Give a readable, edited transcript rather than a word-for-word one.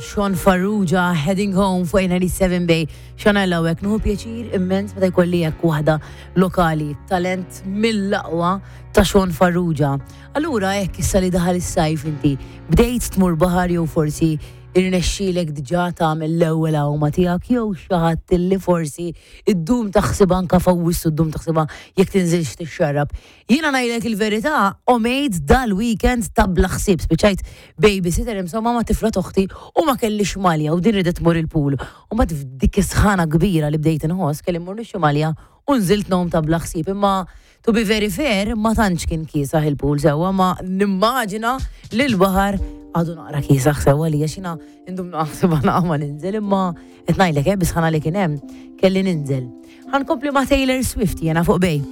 Sean Farrugia, Heading Home fuq 97 Bay. Sean hawnhekk nieħu pjaċir immens meta jkolli hekk waħda lokali, talent mill-aqwa ta' Sean Farrugia. Allura hekk issa li daħal is-sajf inti, bdejt tmur baħar jew forsi irnexxielek diġà tagħmel l-ewwel għawma tiegħek jew xi ħadd illi forsi ddum taħsibha anke f'Awwissu ddum taħsibha jekk tinżilx tixxarrab. Jiena ngħidlek il-verità, għomt dal-weekend ta' bla ħsieb, spiċċajt babysitter insomma ma' tifla t'oħti u ma kellix malja u din ridet tmur il-pool. U ma dik is-sħana kbira li bdejt inħoss kelli mmur nixtri malja u nżilt ngħum ta' bla ħsieb imma to be very fair ma tantx kien kiesaħ il-pool sewwa ma nimmaġina li l-baħar għadu naqra kiesaħ sewwa li għax jiena ndum naħseb ma ninżel imma qed ngħidlek bi sħana li kien hemm kelli ninżel. Ħa nkompli ma' Taylor Swift jiena fuq Bay.